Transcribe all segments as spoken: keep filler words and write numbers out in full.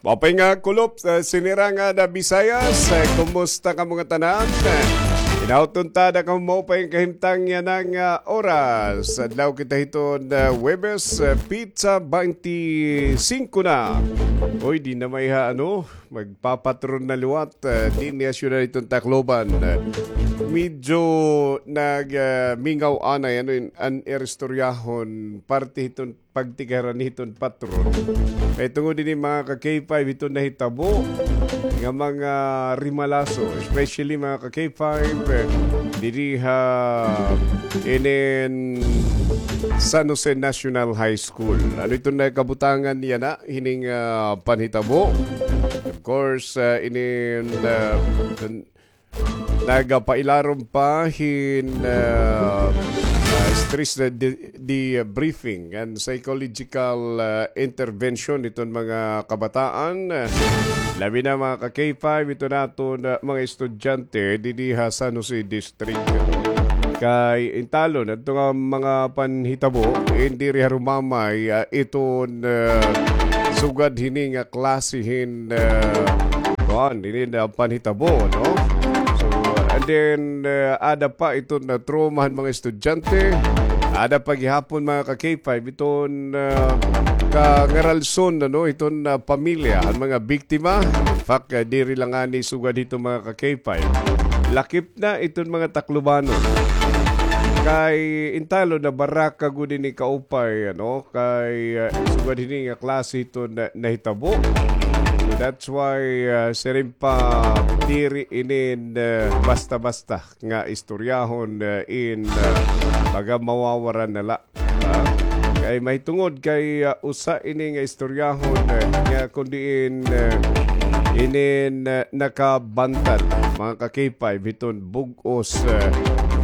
Maupay nga kulop, ah, sinirangan na Bisayas. Eh, kumusta kamo ngatanan? Eh, inawton ta da kamo maupay nga kahimtang yana nga, ah, oras. Adlaw kita hiton, ah, Huwebes, ah, petsa baynte singko na. Uy, di na may ha, ano, magpapatron na liwat, ah, dinhi ha syudad hiton Tacloban. Ah, medyo nag, ah, mingaw anay, ano, in, an iristoryahon, parte hiton pagtigaran hiton patron. Kay tungod ini, mga ka-K five, hiton nahitabo nga mga rimalaso, especially, mga ka-K five, eh, diri ha inin San Jose National High School. Ano iton na kabutangan yana, hining, ah, panhitabo? Of course, ah, inin, ah, nagapailarom pa hin, ah, ah, stress de-, de-, debriefing and psychological, ah, intervention hiton mga kabataan, ah, labi na, mga ka-K five, hiton aton, ah, mga estudyante didi ha San Jose District. Kay intalon, adto nga mga panhitabo, in diri harumamay, ah, iton, ah, sugad hini nga klase hin, ah, kuan, hini nga panhitabo, no? So, and then, ah, ada pa iton, ah, trauma han mga estudyante, ada pa gihapon, mga ka-K five, iton, ah, kangaralson, ano, iton, ah, pamilya han mga biktima. In fact, ah, diri la ngani sugad hiton, mga ka-K five. Lakip na iton mga Taclobanon. Kay intalon, nabaraka gud ini kaupay, ano, kay, ah, sugad hini nga klase hiton na, nahitabo. So that's why, ah, siring pa, diri inin, ah, basta-basta nga istoryahon, ah, in, ah, baga mawawaran na la. Ah, kay mahitungod kay, ah, usa ini nga istoryahon, eh, nga kun diin, eh, inin, eh, nakabantad, mga ka-K five, hiton bug-os, eh,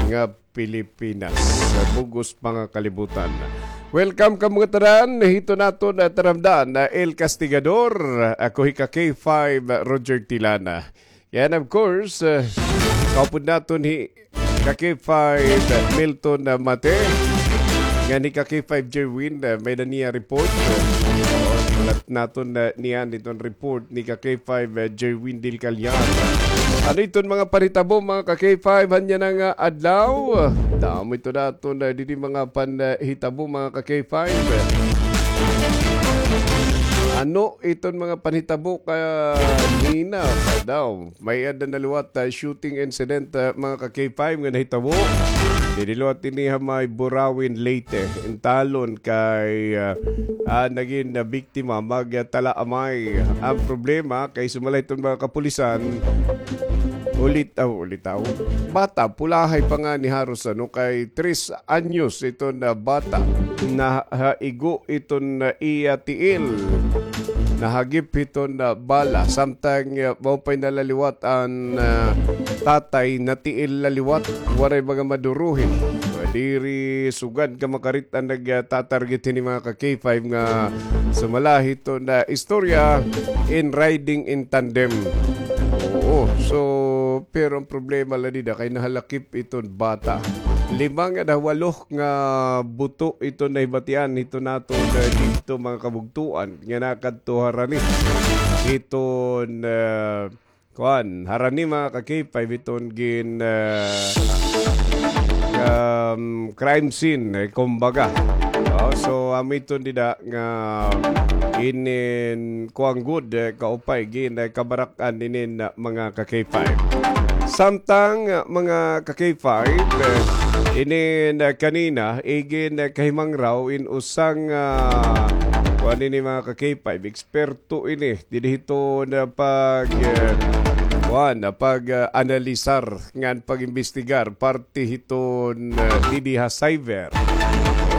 nga Pilipinas, eh, bug-os pa nga kalibutan. Welcome kamo ngatanan hiton aton, eh, taramdan, eh, El Castigador. Ako hi ka-K five, Roger Tilana. Yan, of course, uh, kaupod naton hi ka-K five, uh, Milton, uh, Mate. Ngan hi ka-K five Jerwin, uh, may-ada niya report. Uh, sulat naton, uh, niya iton report ni ka-K five, uh, Jerwin Del Callar. Ano iton mga panhitabo, mga ka-K five, han yana nga adlaw? Damo iton aton, uh, didi mga panhitabo, mga ka-K five. Ano iton mga panhitabo kanina pa daw? May-ada na liwat, ah, shooting incident, ah, mga ka-K five nga nahitabo. Didi liwat ini ha may Burauen, Leyte. Intalon kay, ah, ah, nagin na biktima, magtalaamay. An problema kay sumala hiton mga kapulisan, ulitaw, ulitaw. Bata, pulahay pa ngani haros, ano, kay tres anyos iton bata, nahaigo iton iya tiil. Nahagip hiton bala. Samtang, ah, maupay na la liwat an, ah, tatay, natiil la liwat. Waray mga maduruhi. Diri sugad ka makarit-an nagtatarget hini, mga ka-K five, nga sumala hiton istorya in riding in tandem. Oo. So, pero an problema la dida kay nahalakip iton bata. Lima ngada ha walo nga buto iton nahibatian hiton aton, ah, didto, mga kabugtoan, nga nakadto harani hiton, ah, kuan, harani, mga ka-K five, hiton gin, ah, um, crime scene, eh, kumbaga. Oh, so, amo iton dida nga inin kuan gud, eh, kaupay, gin, eh, kabarak-an inin, ah, mga ka-K five. Samtang, ah, mga ka-K five, eh, inin, ah, kanina, igin, eh, kahimangraw in usang, ah, kuan ini, mga ka-K five, eksperto ini didi hiton pag, eh, kuan, pag, ah, analisar ngan pag-imbestigar parte hiton, eh, didi ha cyber.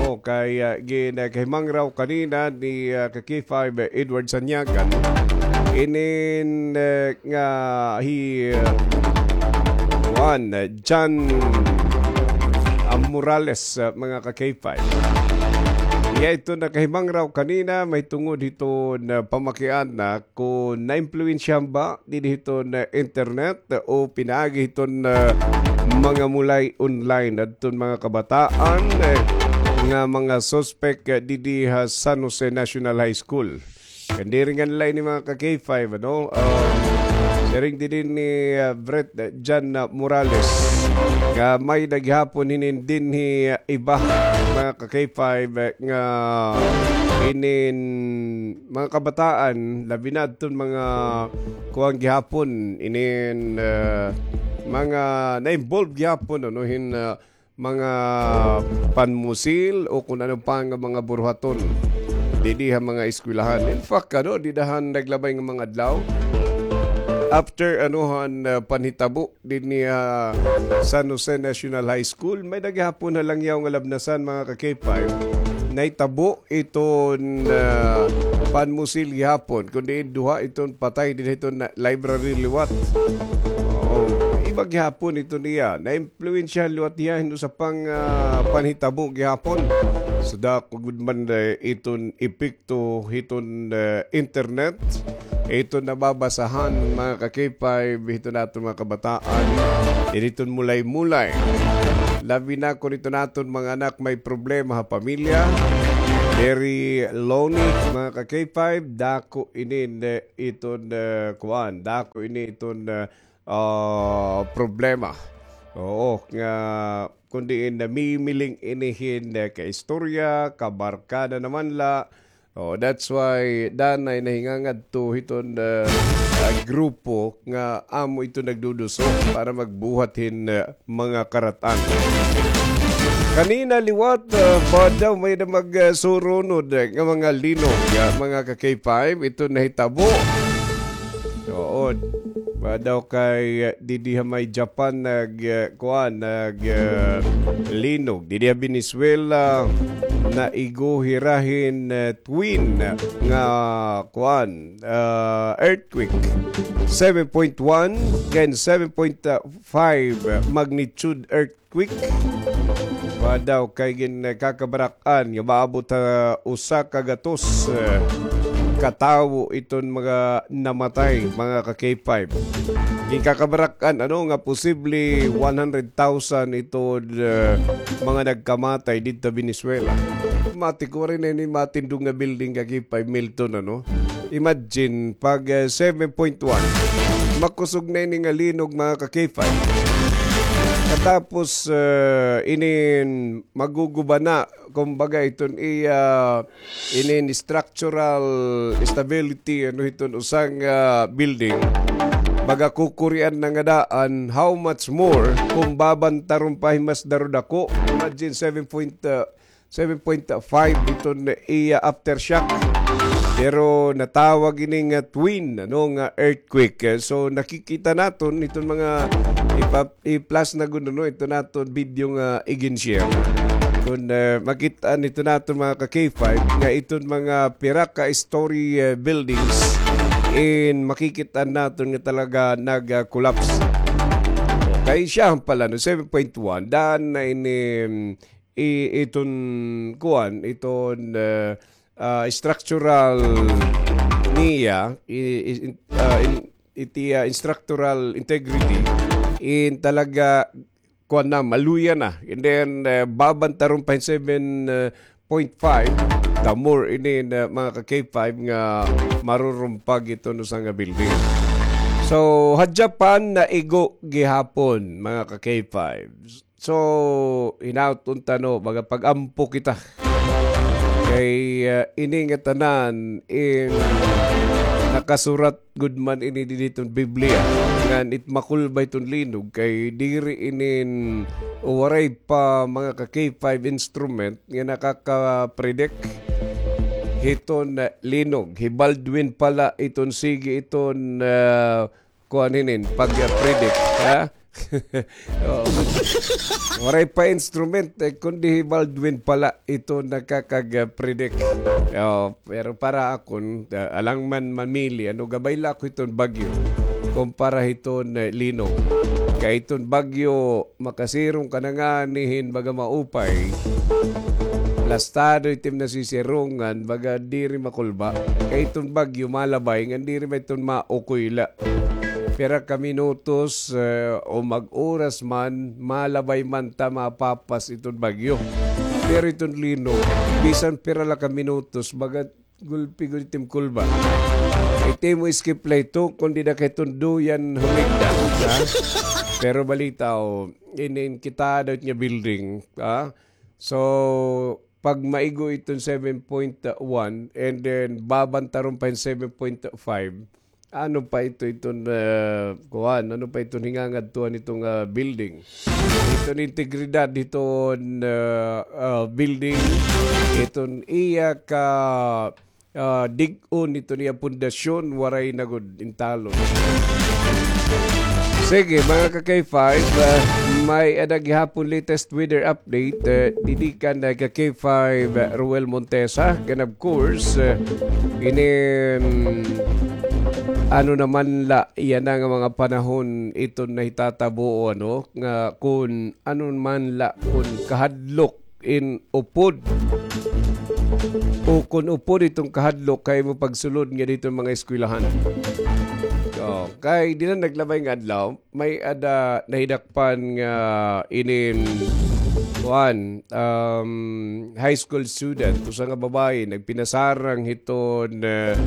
O, kay, ah, gin, ah, kahimangraw kanina ni, ah, ka-K five, eh, Edward Sanyagan. Inin, eh, nga hi, ah, kuan, eh, John, ah, Morales, ah, mga ka-K five. Iya iton nakahimangraw kanina, mahitungod hiton, ah, pamakiana kon naimpluwensyahan ba didi hiton internet o pinaagi hiton, ah, mga mulay online adton mga kabataan, eh, nga mga suspek, eh, didi ha San Jose National High School. Kan diri ngan la ini mga ka-K five, ano? Ah, siring dinhi ni, ah, Brett, ah, Jan, ah, Morales. Nga may-ada gihapon hinin dinhi, ah, iba, mga ka-K five, eh, nga inin mga kabataan, labi na adton mga kuan gihapon, inin, ah, mga na-involve gihapon, ano, hin, ah, mga panmusil o kun ano pa nga mga buruhaton didi ha mga eskwelahan. In fact, ano, dida han naglabay nga mga adlaw, after, ano, han, ah, panhitabo dinhi ha San Jose National High School, may-ada gihapon ha Langyaw nga Labnasan, mga ka-K five, nahitabo iton, ah, panmusil gihapon, kun diin duha iton patay dinhi hiton library liwat. Oo, iba gihapon iton iya. Na-impluwensyahan liwat hiya hin usa pang, ah, panhitabo gihapon. So, dako gud man, eh, iton epekto hiton, eh, internet. Iton nababasahan, mga ka-K five, hiton aton mga kabataan. Diri iton mulay-mulay. Labi na kun iton aton mga anak may problema ha pamilya. Very lonely, mga ka-K five. Dako ini, eh, iton, eh, kuan. Dako ini iton, eh, ah, problema. Oo, nga kun diin namimiling ini hin, eh, kaistorya, kabarkada naman la. Oh, that's why danay nahingangadto hiton, eh, ah, grupo nga amo ito nagduduso para magbuhat hin, eh, mga karat-an. Kanina liwat, ah, pa daw may na mag, ah, surunod, eh, nga mga linog, ah, mga ka-K five, ito nahitabo. Oo. Ba daw kay, ah, didi ha may Japan nag, ah, kuan, nag, ah, linog. Didi ha Venezuela, naigo hira hin, ah, twin nga kuan, ah, earthquake. Seven point one and seven point five magnitude earthquake. Ba daw kay ginkakabarak-an nga maabot ha usa ka gatos, eh, ka tawo iton mga namatay, mga ka-K five. Ginkakabarak-an, ano, nga posible one hundred thousand iton, eh, mga nagkamatay didto Venezuela. Mati ko rin ini matindog nga building ka-K five, Milton, ano? Imagine, pag, eh, seven point one, makusog na ini nga linog, mga ka-K five. Katapos, eh, inin maguguba na, kumbaga, iton iya, inin structural stability, ano, hiton usang, ah, building, baga kukurian na nga daan, how much more kung babantaron pa hin mas daro dako? Imagine, seven point, ah, seven point five iton iya aftershock. Pero natawag ini nga twin, ano, nga earthquake. Eh, so, nakikita naton iton mga ipa-, i-plus na gud, ano, ito naton video nga i-share. Kung, eh, makita nito naton mga ka-K five nga iton mga pira ka story, eh, buildings in makikita naton nga talaga nag-collapse. Kay siya pala, no, seven point one, daan na ini, mm, i-, iton kuan, iton, eh, ah, structural niya, i-, i-, in-, ah, in-, iti, ah, structural integrity, in talaga, kuan na, maluya na. And then, eh, babantaron pa hin seven point five, the more ini na mga ka-K five nga marurumpag iton usa nga building. So, ha Japan, naigo gihapon, mga ka-K five. So, hinaot unta, no, baga pag-ampo kita. Kay, ah, ini nga tanan, in, nakasurat gud man ini didi hiton Biblia. Ngan it makulba hiton linog, kay diri inin, o waray pa mga ka-K five instrument nga nakaka-predict hiton, ah, linog. Hi Baldwin pala iton sige iton, ah, kuan hinin, pag-predict, ha? Oo. Waray pa instrument, eh, kundi hi Baldwin pala ito nakakag-predict. Oo, pero para akon, ah, alang man mamili, ano, gabay la ako hiton bagyo kumpara hiton, eh, linog. Kay iton bagyo, makasirong ka na ngani hin baga maupay. Plastado itim nasisirongan, baga diri makulba. Kay iton bagyo, malabay, ngan diri man iton maukoy la. Pira ka minutos, eh, o mag-oras man, malabay man ta mapapas iton bagyo. Pero iton linog, bisan pira la ka minutos, baga gulpi gud itim kulba. Iti mo skip la ito, kundi na kay tunduyan humigda. Ha? Pero balita, o, inin kita daw nga building. Ha? So, pag maigo iton seven point one, and then babantaron pa hin seven point five, ano pa ito, iton, ah, kuan, ano pa iton hingangadtuan iton, ah, building? Iton integridad iton, ah, ah, building, iton iya ka, ah, dig-on iton iya pundasyon, waray na gud intalon. Sige, mga ka-K five, ah, may-ada gihapon latest weather update, ah, didi kan, ah, ka-K five, ah, Ruel Montesa. And of course, ah, ini, mm, ano naman la, yana nga mga panahon iton nahitatabo, ano, nga kun ano man la, kun kahadlok in upod. O kun upod iton kahadlok kay mo pagsulod nga didto mga eskwelahan. So, kay di na naglabay nga adlaw, may-ada nahidakpan nga inin, kuan, um, high school student, usa nga babaye, nagpinasarang hiton, eh,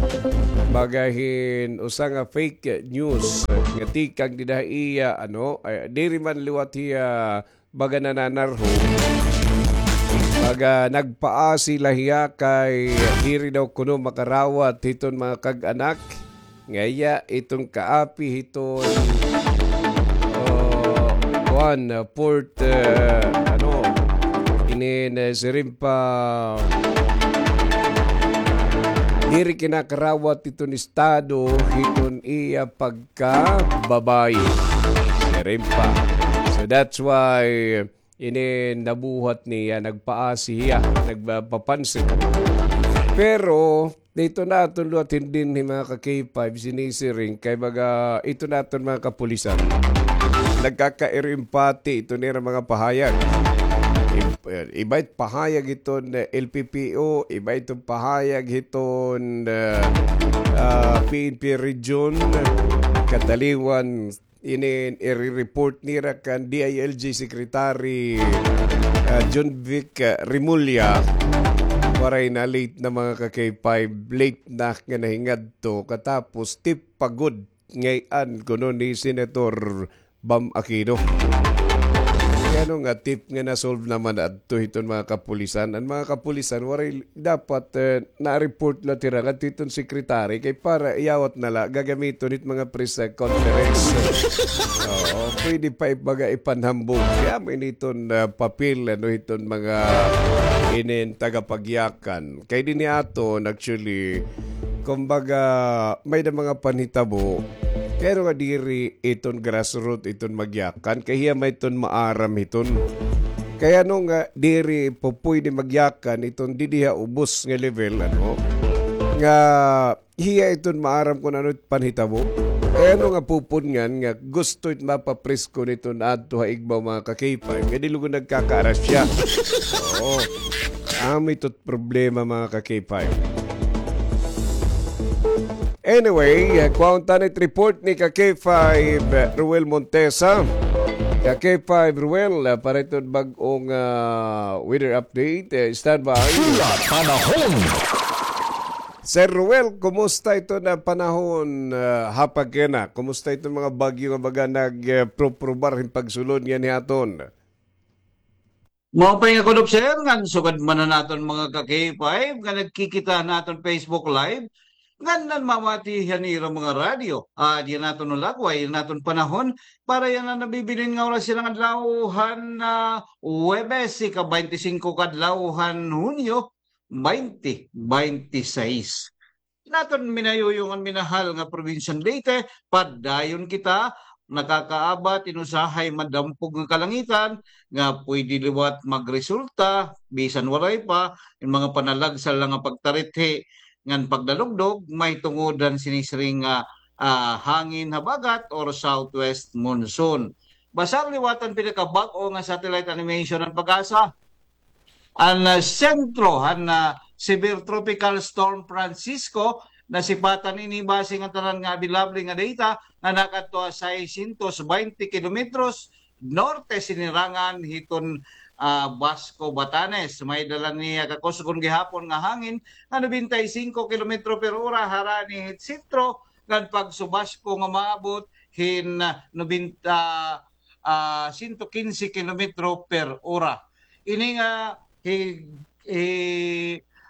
baga hin usa nga fake news, eh, nga tikang dida ha iya, ano, eh, diri man liwat hiya baga nananarho. Baga nagpaasi la hiya kay diri daw kuno makarawat hiton mga kag-anak. Nga iya iton kaapi hiton, oh, kuan, ah, port, eh, ano, inin, eh, siring pa, diri kinakarawat hiton estado hiton iya pagkababaye. Siring pa. So that's why ini nabuhat niya, nagpaasi hiya, nagpapansin. Pero dito na aton liwat hindin hi mga ka-K five, sinisiring kay baga ito na aton mga kapulisan. Nagkakairing pati ito nira mga pahayag. Ib-, iba it pahayag iton, eh, L P P O, iba ito pahayag hiton, eh, ah, P N P Region, kataliwan inin iri-report nira kan D I L G Secretary, ah, John Vic, ah, Remulla. Waray na, late na mga ka-K five, late na nga nahingadto. Katapos tip pa gud ngay-an kuno ni Senator Bam Aquino. Kay ano nga tip nga na-solve naman adto hiton mga kapulisan. An mga kapulisan, waray dapat, eh, na-report la tira ngadto hiton secretary kay para iyawat na la gagamiton hit mga press, eh, conference. Oo, pwede pa ibaga ipanhambog. Kay amo ini iton, ah, papel, ano, hiton mga inin tagapagyakan. Kay dinhi aton, actually, kumbaga, may-ada mga panhitabo. Kay ano nga diri iton grassroot iton magyakan. Kay hiya may iton maaram hiton. Kay ano nga diri po pwede magyakan iton didi ha ubos nga level, ano, nga hiya iton maaram kun ano it panhitabo. Kay ano nga pupudngan nga gusto it mapapresko niton adto ha igbaw mga ka-K five. Kay di lugod nagkakaarasya. Oo. Amo ito problema mga ka-K five. Anyway, uh, kuhaon ta it report ni ka-K five, uh, Ruel Montesa. Ka-K five, Ruel, uh, para iton bag-ong, uh, weather update. Uh, standby. Sulat panahon. Sir Ruel, kumusta iton panahon, uh, ha Paguenao? Kumusta iton mga bagyo nga baga nag, uh, proprobar hin pagsulod nganhi ha aton? Maupay nga kudop, sir, ngan sugad man han aton mga ka-K five nga nagkikita han aton Facebook Live, ngan nanmamati han ira mga radyo. Ah, diyan naton ulagway, an aton panahon, para yana nabibilin nga oras yana nga adlaw han, ah, Huwebes, ika-baynte singko ka adlaw han Hunyo, baynte baynte sais. Naton minayuyong ngan minahal nga Probinsya han Leyte, padayon kita nakakaabat hin usahay madampog nga kalangitan nga pwede liwat magresulta, bisan waray pa, hin mga panalagsal la nga pagtarithi ngan pagdalugdog mahitungod han sinisiring nga, ah, hangin habagat or southwest monsoon. Basar liwat an pinakabag-o nga satellite animation han PAGASA. An, ah, sentro han, ah, Severe Tropical Storm Francisco, nasipatan ini base nga tanan nga available nga data nga nakadto ha seiscientos baynte kilometros norte sinirangan hiton ah, Basco, Batanes. May dala niya kakusgon gihapon nga hangin nga nobenta y singko kilometro per ora harani hit sentro, ngan pagsubasko nga maabot hin, ah, nobenta, ah, sento kinse kilometro per ora. Ini nga hi, hi,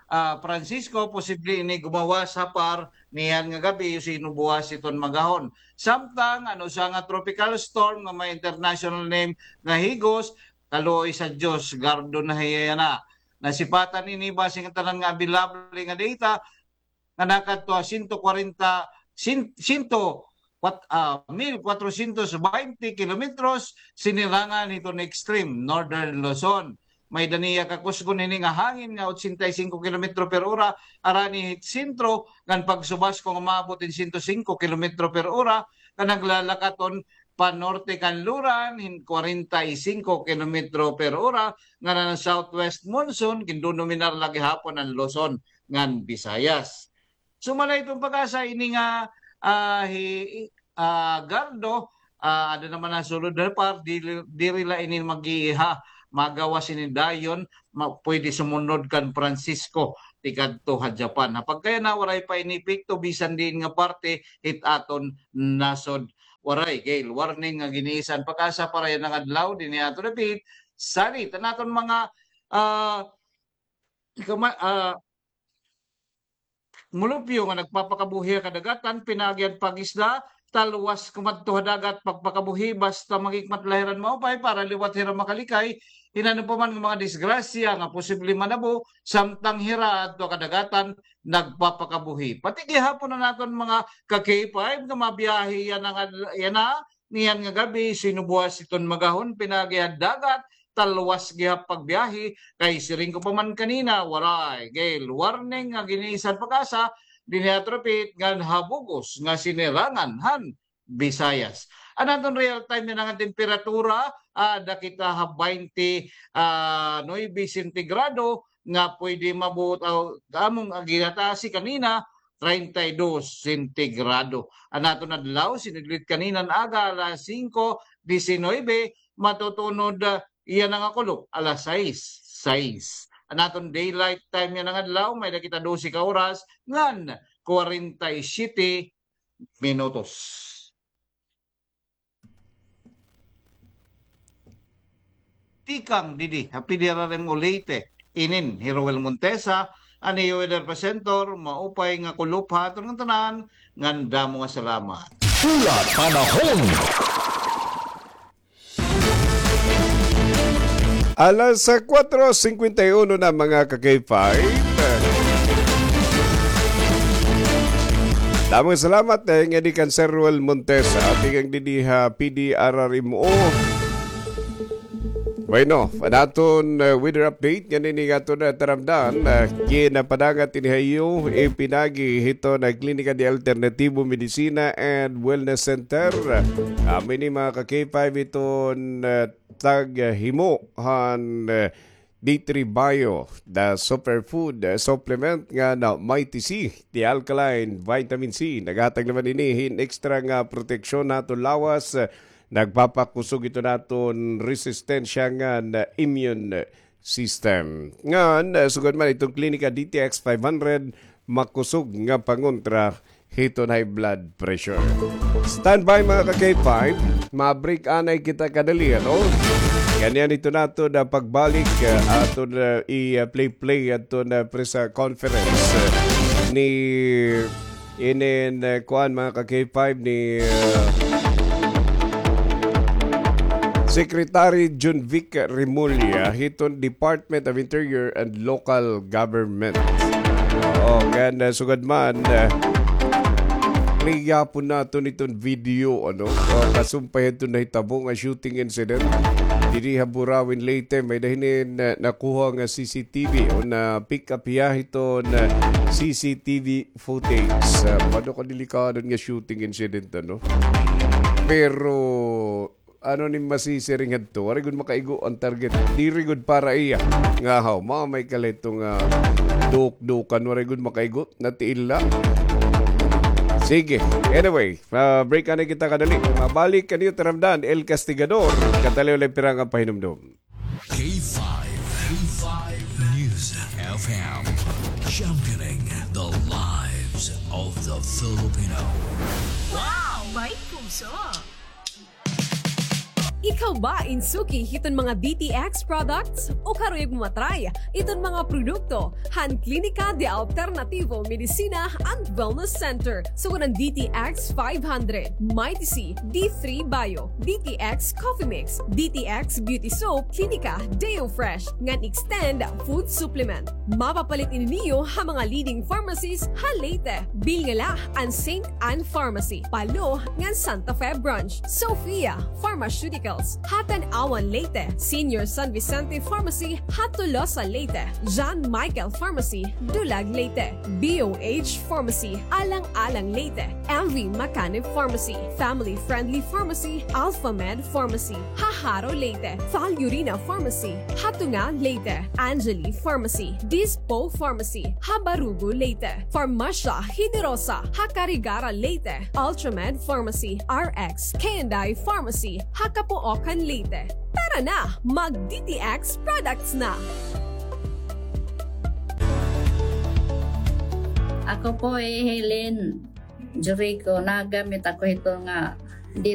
ah, Francisco, posible ini gumawas ha par niyan nga gab-i o sino buwas hiton magahon. Samtang an usa nga tropical storm nga may international name nga Higos, kaluoy sa Diyos, gardo na hiya yana. Nasipatan ini base nga tanan nga available nga data, nga nakadto ha sento kwarenta, sin-, sento, kwat-, ah, mil kwatrosyentos baynte kilometros sinirangan hiton extreme northern Luzon. May dala niya kakusgon ini nga hangin nga otsenta y singko kilometro per ora, harani hit sentro, ngan pagsubasko nga maabot hin sento singko kilometro per ora, nga naglalakaton panorte kanluran hin kwarenta y singko kilometro per ora, nga nan southwest monsoon, gindodominar la gihapon an Luzon ngan Visayas. Sumala hiton PAGASA ini nga, ah, hi, ah, gardo, ah, ada naman an sulod ha par, diri, diri la ini mag-iiha, magawas ini dayon, ma-, pwede sumunod kan Francisco, tikadto ha Japan. Ha pagkayana, waray pa ini epekto bisan diin nga parte hit aton nasod. Waray, gale warning nga giniisa han PAGASA para yana nga adlaw, dinhi aton dapit. Salit an aton mga, ah, kama-, ah, mulupyo nga nagpapakabuhi ha kadagatan, pinaagi han pag-isda, talwas kumadto ha dagat, pagpakabuhi, basta manghikmat la hira hin maupay para liwat hira makalikay hin ano pa man nga mga disgrasya nga posible manabo, samtang hira adto ha kadagatan, nagpapakabuhi. Pati gihapon an aton mga ka-K five nga mabiyahe yana nga, yana, niyan nga gab-i, sino buwas hiton magahon, pinaagi ha dagat, talwas gihap pagbiyahe, kay siring ko pa man kanina, waray, gale warning nga giniisa han PAGASA, dinhi ha Trapit, ngan ha bug-os nga sinirangan han Visayas. An aton real time yana nga temperatura, ah, ada kita ha baynte, ah, nuebe sentigrado, nga pwede mabuot, ah, amon ginatasi kanina, treinta y dos sentigrado. An aton adlaw, sinudlit kanina nga aga, alas singko disinuybe, matutunod, ah, yana nga kulop, alas sais, sais. An aton daylight time yana nga adlaw, may-ada kita dose ka oras, ngan kwarenta y siyete minutos. Tikang didi ha P D R R M O Leyte, inin hi Roel Montesa, an iyo weather presenter, maupay nga kulop ha aton ngatanan, ngan damo nga salamat. Pula Panahon. Alas, ah, kuwatro singkwenta y uno na, mga ka-K five. Damo nga salamat, eh, ngadi kan Sir Roel Montesa, tikang didi ha P D R R M O. Bueno, an aton, eh, weather update, ngan ini nga aton, eh, taramdan, eh, ginapadangat ini ha iyo, ipinagi hiton Klinika de Alternativo Medicina and Wellness Center. Amo ini, mga ka-K five, hiton, eh, taghimo han, eh, D three Bio, the superfood, eh, supplement ngan Mighty C, the alkaline vitamin C. Naghatag naman ini hin ekstra nga proteksyon ha aton lawas, eh, nagpapakusog hiton aton resistensya ngan immune system. Ngan, eh, sugad man hiton Klinika D T X five hundred, makusog nga pangontra hiton high blood pressure. Standby, mga ka-K five, ma-break anay kita kadali, ano? Ngan yana hiton aton pagbalik, eh, aton, eh, i-play-play aton, eh, press, eh, conference, eh, ni inin, eh, kuan, mga ka-K five, ni, eh, Secretary Junvic Remulla hiton Department of Interior and Local Government. Oo, ngan, eh, sugad man, eh, play gihapon naton iton video, ano? O, kasumpay hiton nahitabo nga shooting incident didi ha Burauen, Leyte. May-ada hini na, nakuha nga C C T V o na-pick up hiya hiton, eh, C C T V footage. Ah, pano ka delikado nga shooting incident, ano? Pero, ano ni masisiring hadto? Waray gud makaigo an target. Diri gud para iya. Nga haw, mamay ka la ito nga dukdukan. Waray gud makaigo. Natiil la. Sige. Anyway, ah, break anay kita kadali. Mabalik kaniyo taramdan, El Castigador. Kataliw la pira nga pahinumdom. K five, K five News F M, championing the lives of the Filipino. Wow! May puso! Ikaw ba in suki hiton mga D T X products? O karuyag mo matry iton mga produkto han Klinika de Alternativo Medicina and Wellness Center, sugad han D T X five hundred, Mighty C, D three Bio, D T X Coffee Mix, D T X Beauty Soap, Klinika Deo Fresh, ngan Extend Food Supplement. Mapapalit ini niyo ha mga leading pharmacies ha Leyte. Bilngala an Saint Anne Pharmacy, Palo, ngan Santa Fe Branch. Sophia Pharmaceuticals, ha Tanauan, Leyte. Senior San Vicente Pharmacy, ha Tolosa, Leyte. John Michael Pharmacy, Dulag, Leyte. B O H Pharmacy, Alang-alang, Leyte. M V Macanib Pharmacy, Family Friendly Pharmacy, Alpha Med Pharmacy, ha Jaro, Leyte. Valerina Pharmacy, ha Tunga, Leyte. Angeli Pharmacy, Dispo Pharmacy, ha Barugo, Leyte. Farmasya Generosa, ha Carigara, Leyte. Ultramed Pharmacy, R X K and I Pharmacy, ha Capoocan, Leyte. Tara na, mag D T X products na! Ako po hi Helen Jurico. Nagamit ako hito nga